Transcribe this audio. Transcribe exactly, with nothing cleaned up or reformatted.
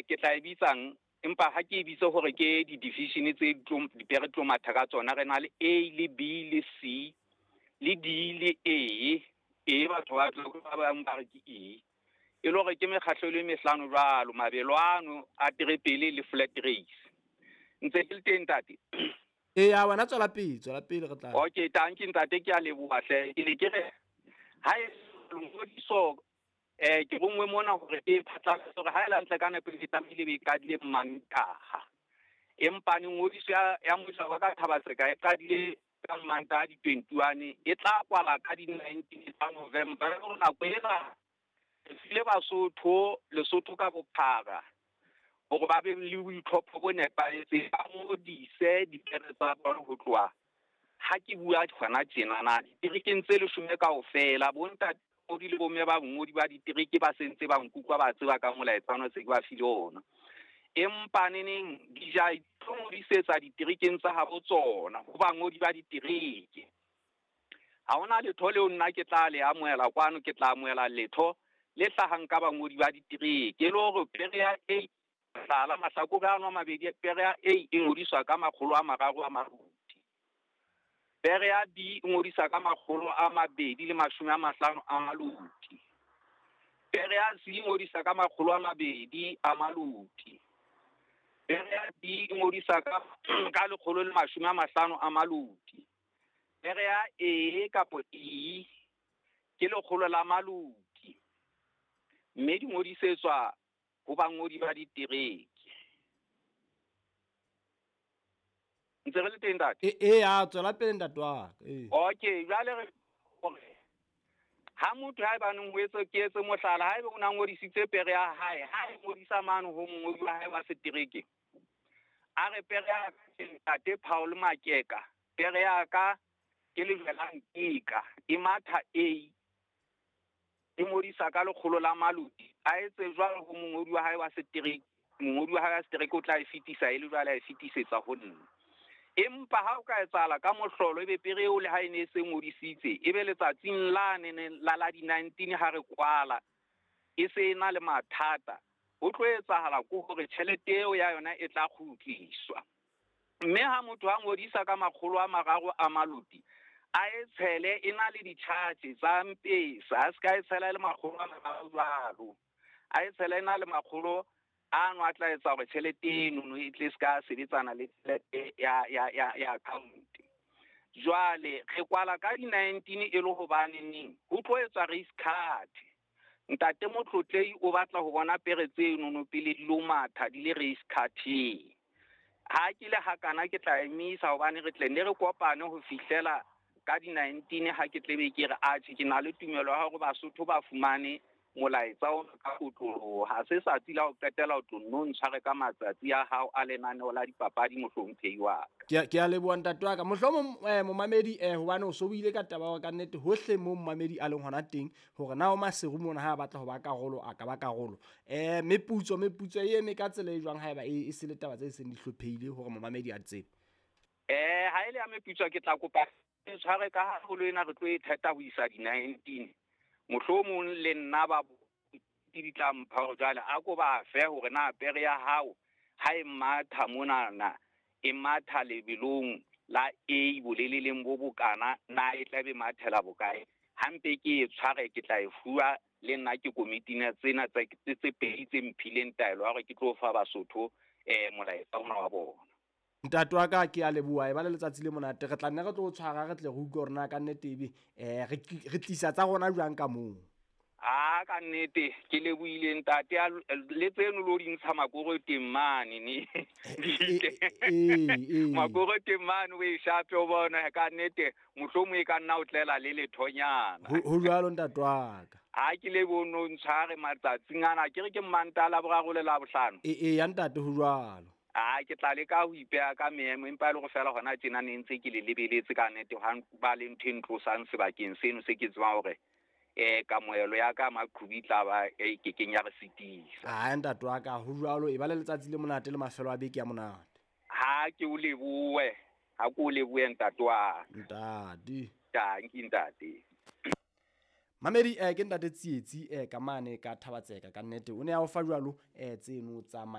ke tla e bitsang empa ha ke e bitse hore ke di-division tse dipere tlo matha ka tsona. Re na le A le B le C le D le E. E batho ba ba bang ba re ke E. E le hore ke mekgahlo e le mehlano jwalo, mabelo ano a terepele le flat race. Ntse ke le teng ntate? E ya wena tswela pele, tswela pele re tla. Okay, tanki ntate, ke a leboha hle. Ke ne ke re ha e ngodiso eh ke rongwe mona hore e phatlalatse hore ha e la ntle ka nepo e tlamehile be e qadile Mantaha. Empa ngodiso ya ya mmuso wa ka Thaba-Tseka e qadile ka Mantaha di twenty-one, e tla kwala ka di nineteen tsa November. Re nako ena re file Basotho Lesotho ka bophara hore ba be le boitlhopho bo nepahetseng, ba ngodise dipere tsa bona ho tloha ha ke bua hona tjenana diterekeng tse leshome kaofela. Bontate le bomme ba bongodi ba ditereke ba sentse ba nkutlwa, ba tseba ka molaetsa ona se ke ba file ona. Empa neneng di ja tlo ngodisetsa diterekeng tsa habo tsona ho bangodi ba ditereke. Ha hona letho leo nna ke tla le amohela kwano, ke tla amohela letho le hlahang ka bangodi ba ditereke. E le hore pere ya A hlala mahlakore ano a mabedi, pere ya A e ngodiswa ka makgolo a mararo a maruti, pere ya B e ngodiswa ka makgolo a mabedi le mashome a mahlano a maluti, pere ya C e ngodiswa ka makgolo a mabedi a maluti, pere ya D e ngodiswa ka ka lekgolo le mashome a mahlano a maluti, pere ya E kapo E ke lekgolo la maluti, mme di ngodisetswa ho bangodi ba ditereke. Ntse re le teng ntate? E, e ya tswela pele ntate wa ka. E. Okay, jwale re hore ha motho ha ebaneng ho etse ke etse mohlala, ha ebe o na ngodisitse pere ya hae, ha e ngodisa mane ho mongodi wa hae wa setereke, a re pere ya ka ntate Paul Makeka, pere ya ka ke lejwe la Nkeka, e matha A, e ngodisa ka lekgolo la maluti, a etse jwalo ho mongodi wa hae wa setereke, mongodi wa hae wa setereke o tla e fetisa e le jwale a e fetisetsa ho nna. Empa ha o ka etsahala ka mohlolo ebe pere eo le ha e ne e se ngodisitse, ebe letsatsing la nene la la di nineteen ha re kwala e se e na le mathata, ho tlo etsahala ke hore tjhelete eo ya yona e tla kgutliswa. Mme ha motho a ngodisa ka makgolo a mararo a maluti, a e tshele e na le di-charge tsa mpesa, a se ka e tshela e le makgolo a mararo jwalo, a e tshele e na le makgolo ano a tla etsa hore tjhelete eno e tle se ka sebetsana le tjhelete ya ya ya ya account. Jwale re kwala ka di nineteen e le hobane neng ho tlo etswa race card. Ntate Motlotlei o batla ho bona pere tseno no pele di lo matha di le race card-eng. Ha ke le hakana ke tla emisa hobane re tle ne re kopane ho fihlela ka di nineteen ha ke tlebe ke re atjhe ke na le tumelo ya hore Basotho ba fumane molaetsa o ka kotloloha. Ha se tsatsi la ho qetela o tlo nno ntshware ka matsatsi a hao a lenaneo la dipapadi mohlomphehi wa ka. Ke ke a leboha ntate wa ka. Mohlomong eh, momamedi eh, hobane o so buile ka taba ya ka nnete hohle mo momamedi a leng hona teng hore na o Maseru mona ha a batla ho ba karolo a ka ba karolo. Eh, meputso meputso e eme ka tsela e jwang haeba e, e se le taba tse seng di hlophehile hore momamedi a tsebe? Eh, ha ile ya meputso ke tla kopa e tshware ka haholo ena re tlo e theta ho isa di nineteen. Mohlomong le nna ba di tla mpha hore jwale a ko ba fe hore na pere ya hao ha e matha monana e matha lebelong la A boleleleng bo bokana, na e tla be mathela bokae. Hampe ke e tshware ke tla e fuwa le nna ke komiting tsena tse tse pedi tse mphileng taelo ya hore ke tlo fa Basotho eh molaetsa ona wa bona. Ntate wa ka ke a leboha, e ba le letsatsi le monate. Re tla nne re tlo o tshwara re tle re utlwe hore na ka nnete ebe eh re re tlisa tsa rona jwang ka moo. Ah, ka nnete ke lebohile ntate, le tseno lo di ntsha makoro teng mane ne. Eh, Makoro teng mane o e shape o bona ka nnete mohlomong e ka nna o tlela le lethonyana. Ho jwalo ntate wa ka. Ha ke le bono ntshware matsatsing ana ke re ke Mantaha la boraro le la bohlano. E e ya ntate ho jwalo. Ah, ke tla leka ho ipeha ka meemo empa e le hore feela hona tjena ne ntse ke le lebeletse ka nnete ha ba le ntho e ntlosang sebakeng seno se ke tsebang hore eh kamohelo ya ka maqhubi tla ba e kekeng ya re sitisa. Ah, ntate wa ka ho jwalo, e ba le letsatsi le monate le mafelo a beke ya monate. Ha ke o lebohe, ha ke o lebohe ntate wa ka. Ntate. Tanki ntate. Mamedi eh ke ntate Tsietsi eh ka mane ka Thaba-Tseka ka nnete o ne a o fa jwalo eh tseno tsa